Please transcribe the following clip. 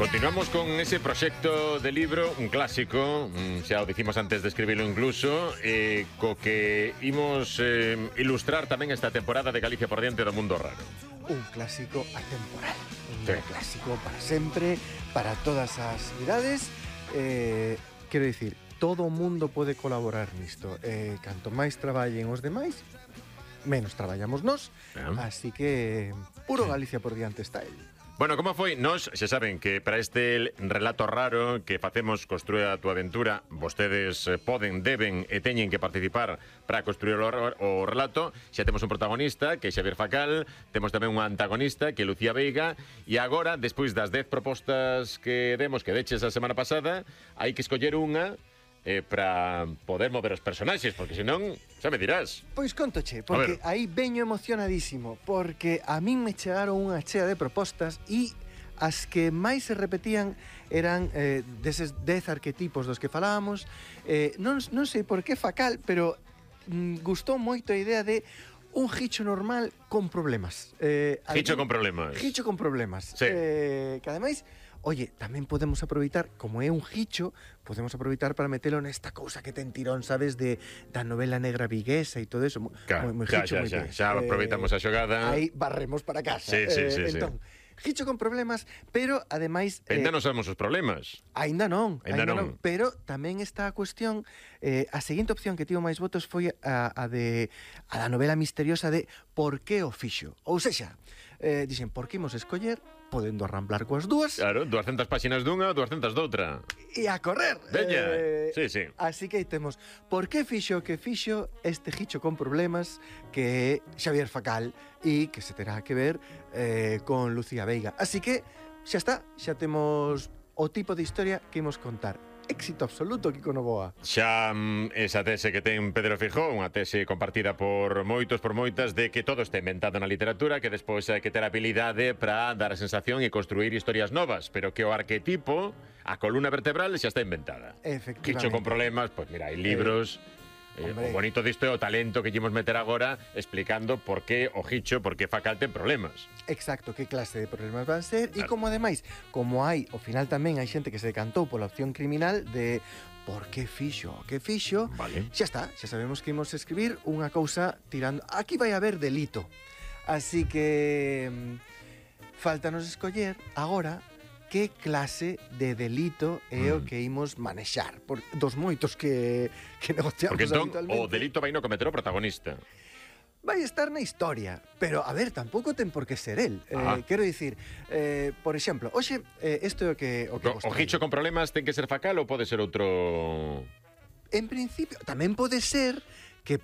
Continuamos con ese proxecto de libro, un clásico, xa o dicimos antes de escribirlo incluso, co que imos ilustrar tamén esta temporada de Galicia por diante do mundo raro. Un clásico atemporal, un Sí. clásico para sempre, para todas as idades. Quero dicir, todo o mundo pode colaborar nisto. Canto máis traballen os demais, menos traballamos nós, así que puro Galicia por diante está el. Bueno, como foi? Nos, xa saben que para este relato raro que facemos Construe a túa aventura, vostedes poden, deben e teñen que participar para construir o relato. Xa temos un protagonista, que é Xavier Facal, temos tamén un antagonista, que é Lucía Veiga, e agora, despois das 10 propostas que demos, que deches a semana pasada, hai que escoller unha para poder mover os personaxes, porque senón, xa me dirás. Pois contoche, porque aí veño emocionadísimo, porque a min me chegaron unha chea de propostas e as que máis se repetían eran deses 10 arquetipos dos que falábamos. Non sei por que Facal, pero gustou moito a idea de un Hicho normal con problemas. Hicho con problemas. Hicho con problemas. Sí. Que ademais, oye, tamén podemos aproveitar, como é un Hicho, podemos aproveitar para metelo nesta cousa que ten tirón, sabes, da novela negra viguesa e todo eso. Claro, moi Hicho, moi ben. xa aproveitamos a xogada. Aí barremos para casa. Sí. Entón, Hicho con problemas, pero ademais... Ainda non sabemos os problemas. Ainda non. Pero tamén está a cuestión, a seguinte opción que tivo máis votos foi a da novela misteriosa de Por que o fixo? Ou sexa, dixen, por que imos escoller, podendo arramblar coas dúas. Claro, 200 páxinas dunha, 200 doutra. E a correr. Veña, sí. Así que aí temos por que fixo que fixo este Hicho con problemas, que é Xavier Facal, e que se terá que ver con Lucía Veiga. Así que xa está, xa temos o tipo de historia que imos contar. Éxito absoluto, Kiko Novoa. Xa esa tese que ten Pedro Feijóo, unha tese compartida por moitos, por moitas, de que todo está inventado na literatura, que despois hai que ter habilidade para dar a sensación e construir historias novas, pero que o arquetipo, a columna vertebral, xa está inventada. Efectivamente. Hicho con problemas, pois mira, hai libros... o bonito disto é o talento que llevamos meter agora explicando por que o Hicho, por que Facal ten problemas. Exacto, que clase de problemas van ser. E como ademais, como hai, ao final tamén hai xente que se decantou pola opción criminal de por que fixo, vale. Xa está, xa sabemos que imos escribir unha cousa tirando... Aquí vai haber delito. Así que faltanos escoller agora que clase de delito é o que imos manexar dos moitos que negociamos. Porque entón o habitualmente. delito vai no cometer o protagonista. Vai estar na historia, pero, a ver, tampouco ten por que ser el. Quero dicir, por exemplo, hoxe, isto é o que O Hicho con problemas ten que ser Facal ou pode ser outro... En principio, tamén pode ser que